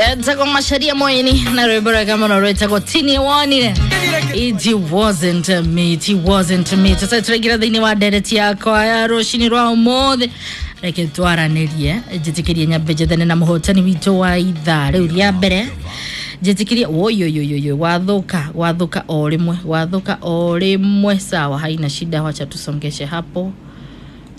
Etagwo Macharia Moini na rwimbo rwega muno rwitagwo Tini Wonire. It wasn't me, it wasn't me. Tũcoke tũraingĩra thĩinĩ wa ndereti yakwa ya rũcinĩ rwa ũmũthĩ. Reke twaranĩrie, njĩtĩkĩrie nyambe njethane na mũhotani witũ wa ithaa rĩu rĩa mbere. Njĩtĩkĩrie woyoyoyoyo, wathũka, wathũka o rĩmwe, wathũka o rĩmwe. Sawa, haina shida, wacha tusongeshe hapo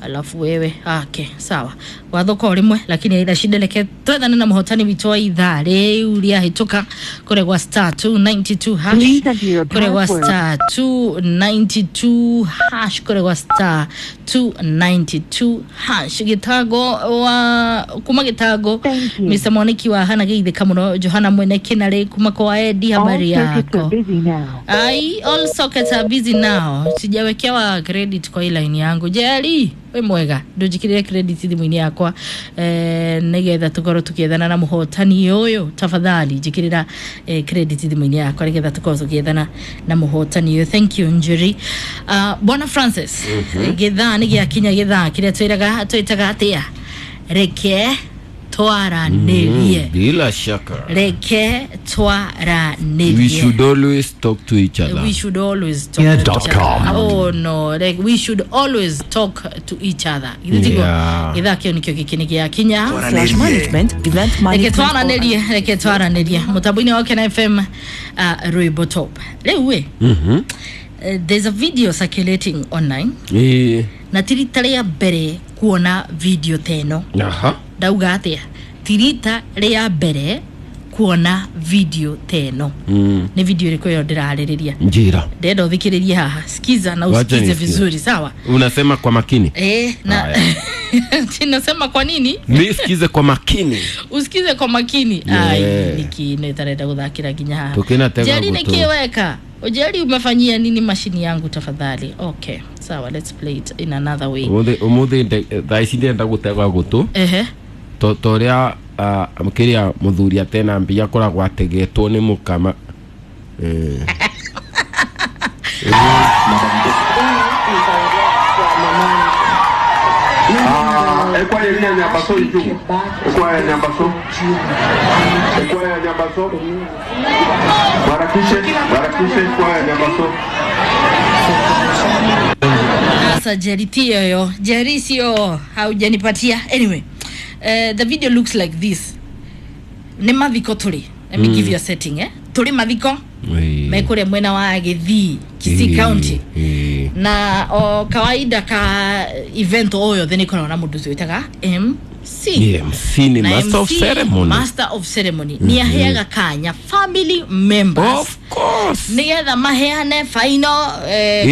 alafu wewe ake sawa, wathuka o rimwe lakini haina shida. Reke twethane na muhotani witũ wa ithaa rĩu rĩahĩtũka kũrĩa gwa star 292 hash, Please enter your kũrĩa gwa password. star 292 hash, kũrĩa gwa star 292 hash. Gĩtango wa kuma gĩtango. Thank you. Mr. Mwaniki wa hana geithĩka mũno. Johana mwene Kinarĩ kuma kwa Edi, All habari circuits are yako? busy now. Ai, all sockets are busy now. Sijawekewa credit kwa hii line yangu. Jerry, we mwega. Ndunjikirire credit thimũ-inĩ yakwa, nigetha tukorwo tukiethana na muhotani ũyũ. Tafadhali njikirira credit thimũ-inĩ yakwa nigetha tukorwo tukiethana na muhotani ũyũ. Thank you, Njuri. Bwana Francis, githaa nĩ gĩakinya, githaa kĩrĩa twĩraga twĩtaga atĩa? Reke twaranĩrie. Bila shaka. Reke twaranĩrie. We should always talk to each other. We should always talk to each other. Oh no, like we should always talk to each other. Yeah. Githaa kĩu nĩkĩo gĩkĩ nĩ gĩakinya. Slash management, event Reke management. twaranĩrie, reke twaranĩrie mũtambo-inĩ wa Kena FM, rwĩmbo top rĩu ĩ. There's a video circulating online na ti rita rĩa mbere kuona video ta ĩno. Ndauga atĩa? Ti rita rĩa mbere kuona video ta ĩno. Nĩ video ĩrĩkũ ĩyo ndĩrarĩrĩria? Njira. Ndenda ũthikĩrĩrie haha, sikiza na Wacha usikize nisikie. vizuri, sawa? Unasema kwa makini. Na Haya. nasema kwa nini? Mi sikize kwa makini. Usikize kwa makini. Yeah. Ai, niki nä guthakira nginya haha. Tukinatega Jerry, gũtũ. nĩkĩ weka Ujeri, umefanyia nini mashini yangu tafadhali? Okay, sawa, let's play it in another way. Umuthi umuthi thaa ici ndĩrenda gũtega gũtũ. To ũrĩa kĩrĩa mũthuri atena mbia akoragwo ategetwo nĩ mũkama. Ekwaya ya Nyambaso iju. Ekwaya ya Nyambaso. Ekwaya ya Nyambaso. Barakishe, barakishe ekwaya ya Nyambaso. Sasa Jerry, tio yo Jerry, sio haujanipatia. Anyway, the video looks like this. Nĩ mathiko tũrĩ. Let me give you a setting, eh. Tũrĩ mathiko mekũrĩa mwena wa Gĩthii, Kisii County. Na o kawaida ka event o yothe nĩ ĩkoragwo na mũndũ ũcio wĩtaga MC. MC nĩ Na master of MC, ceremony. Master of ceremony nĩ aheaga kanya family members Of course. nĩgetha maheane final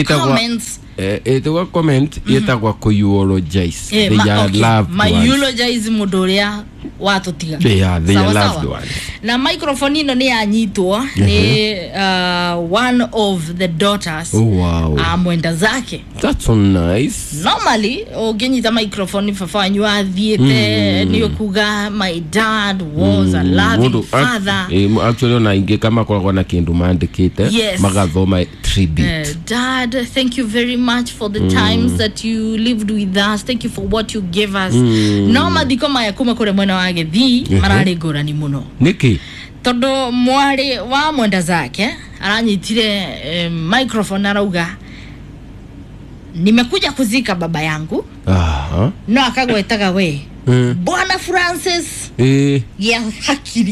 comments. Ĩtagwo comment, ĩtagwo kũ-eulogize Eh, their loved ma ones. eulogize mũndũ ũrĩa watũtiga. They Sawa, are loved sawa. ones. Na microphone ĩno nĩ yanyitwo nĩ one of the daughters Oh, wow. a mwenda zake. That's so nice. Normally ũngĩnyita microphone baba wanyu athiĩte nĩ ũkuga, "My dad was a loving Mũndũ- father." Actually ona ingĩ kama koragwo na kĩndũ mandĩkĩte magathoma tribute. "Dad, thank you very much for the times that you lived with us. Thank you for what you gave us." No mathiko maya kuma kũrĩa mwena wa Gĩthii mararĩ ngũrani mũno. Nĩkĩ? Tondũ mwarĩ wa mwenda zake aranyitire microphone, arauga, "Nimekuja kuzika baba yangu." No akagwetaga we, Bwana Francis, gĩa hakiri.